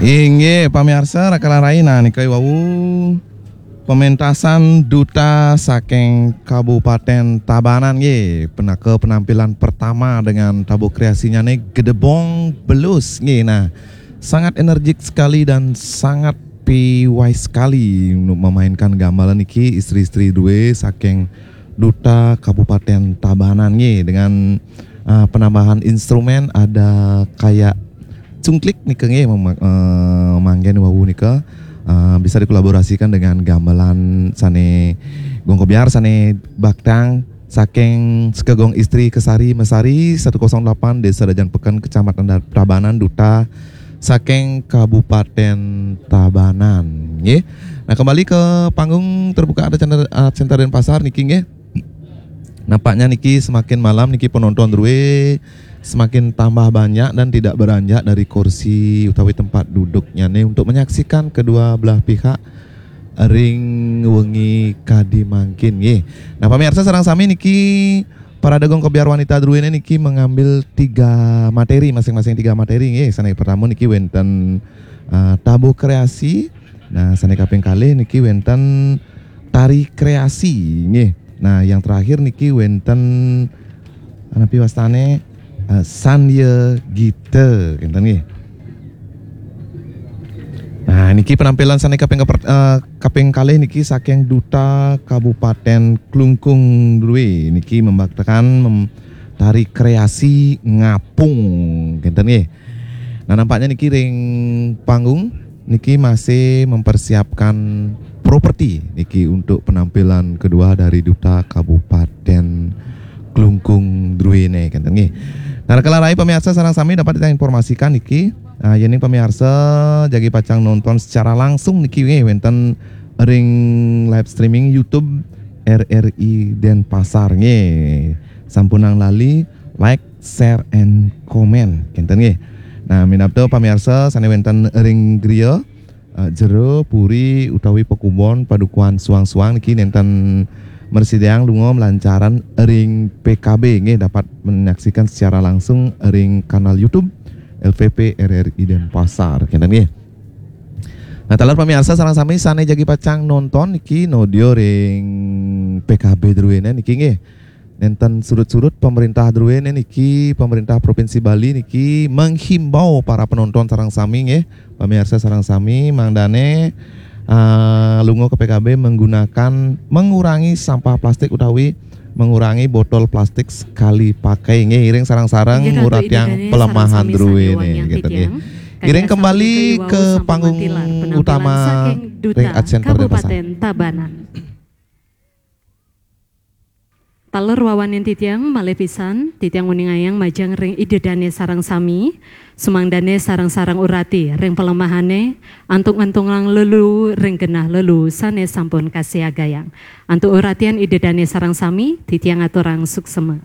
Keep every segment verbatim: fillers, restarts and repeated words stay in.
Inggih, pamiarsa, raka lan rai, nah, nika wau pementasan duta saking Kabupaten Tabanan, nggih, penaka penampilan pertama dengan tabuh kreasinya nih, Gedebong Belus, nggih. Nah, sangat energik sekali dan sangat piwai sekali untuk memainkan gamelan niki, istri-istri duwe saking duta Kabupaten Tabanan, nggih, dengan, eh, penambahan instrumen ada kayak cungklik nika, nggih, mem-, eh, manggen wau nika, eh, bisa dikolaborasikan dengan gamelan sane Gong Kebyar sane baktang saking Sekegong Istri Kesari Mesari satu kosong delapan, Desa Dajan Peken, Kecamatan Da-, Tabanan, duta saking Kabupaten Tabanan, nggih. Nah, kembali ke panggung terbuka Art Center, Art Center Denpasar niki, nggih. Nampaknya niki semakin malam niki penonton druwe semakin tambah banyak dan tidak beranjak dari kursi utawi tempat duduknya nih untuk menyaksikan kedua belah pihak ring wengi kadi mangkin, nggih. Nah, pamiarsa sareng sami niki Parade Gong Kebyar Wanita druwene niki mengambil tiga materi, masing-masing tiga materi, nggih. Sane pertama niki wenten, eh, tabuh kreasi. Nah, sane kaping kalih niki wenten tari kreasi, nggih. Nah, yang terakhir niki wenten, napi wastane, eh, Sandya Gita, kenten, nggih. Nah, niki penampilan sane kaping keper-, eh, kaping kalih niki saking Duta Kabupaten Klungkung druwe niki membaktakan mem-, tari kreasi ngapung, kenten, nggih. Nah, nampaknya niki ring panggung niki masih mempersiapkan properti niki untuk penampilan kedua dari Duta Kabupaten Klungkung druwene, kenten, nggih. Nah, raka lan rai, pamiarsa sareng sami, dapat kita informasikan niki, ah, yening pamiarsa jagi pacang nonton secara langsung niki, nggih, wenten ring live streaming YouTube R R I Denpasar, nggih. Sampunang lali like, share, and comment, kenten, nggih. Nah, minabda pamiarsa sane wenten ring griya, eh, jero, puri, utawi pekubon, padukuhan suang-suang niki nenten mresideang lunga melancaran ring P K B, nggih, dapat menyaksikan secara langsung ring kanal YouTube L P P R R I Denpasar, kenten, nggih. Nah, taler pamiarsa sareng sami sane jagi pacang nonton niki nodya ring P K B druwene niki, nggih. Nenten surut-surut pemerintah druwene niki, pemerintah Provinsi Bali niki menghimbau para penonton sareng sami, nggih, pamiarsa sareng sami, mangdane, ah, lunga ke P K B menggunakan, mengurangi sampah plastik utawi mengurangi botol plastik sekali pakai, nggih, iring sareng-sareng nguratiang pelemahan druwene, kenten, nggih. Iring kembali ke panggung utama ring Art Center Denpasar. Taler wawanin titiang, malih pisan titiang nguningayang majeng ring Ida Dane sareng sami, sumangdane sareng-sareng urati ring pelemahane, antuk ngentungang lelu ring genah lelu sane sampun kasiagayang. Antuk uratian Ida Dane sareng sami, titiang aturang suksema.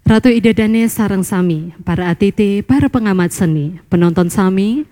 Ratu Ida Dane sareng sami, para atiti, para pengamat seni, penonton sami,